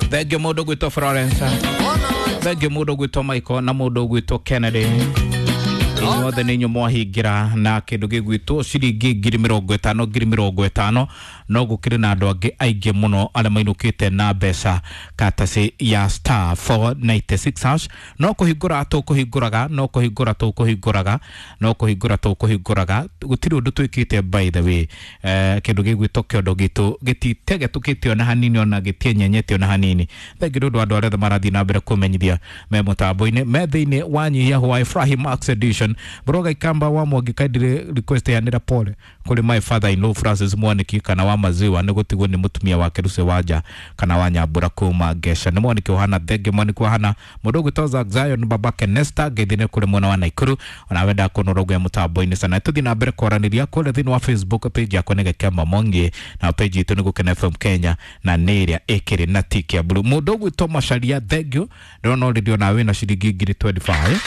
Thengio mũndũ gwĩtwo Florence, thengio mũndũ gwĩtwo Michael na mũndũ gwĩtwo Kennedy. Inyuothe nĩ inyuĩ mwahingĩra na kĩndũ gĩgwĩtwo ciringi 50,000, 50,000. No gũkĩrĩ na andũ angĩ aingĩ mũno arĩa mainũkĩte na mbeca katacĩ ya *496#. No kũhingũra tũkũhingũraga, no kũhingũra tũkũhingũraga, no kũhingũra tũkũhingũraga. Gũtirĩ ũndũ twĩkĩte, by the way. Kĩndũ gĩgwĩtwo kĩondo gitũ gĩtitegetũkĩte ona hanini, ona gĩtienyenyete ona hanini. Thengi nĩ ũndũ wa andũ arĩa othe marathiĩ na mbere kũmenyithia me mũtambo-inĩ, me thĩinĩ wa nyihia hwa Ibrahim Max Edition. Broga Ikamba wa Mwangi kaindire request yanĩra pole kũrĩ my father in law Francis Mwaniki kana wa maziwa nĩ gũtigwo nĩ mũtumia wake Lucy Wanja kana wa Nyambura kuma Ngesha. Nĩ Mwaniki ũhana thengi Mwaniki ũhana mũndũ ũgwĩtwo Zack Zion babake Nesta ngeithi nĩ kũrĩ mwena wa Naikuru ona wenda kũnorogwo mũtambo-inĩ sana. Tũthiĩ na mbere kwaranĩria kũrĩa thĩinĩ wa Facebook page yakwa nĩ Gĩkemba Mwangi, na page itũ nĩ Gũkena FM Kenya, na nĩ ĩrĩa ĩkĩrĩ na tiki ya blue. Mũndũ ũgwĩtwo Macharia, thank you, ndĩrona already ona wĩna ciringi 25,000.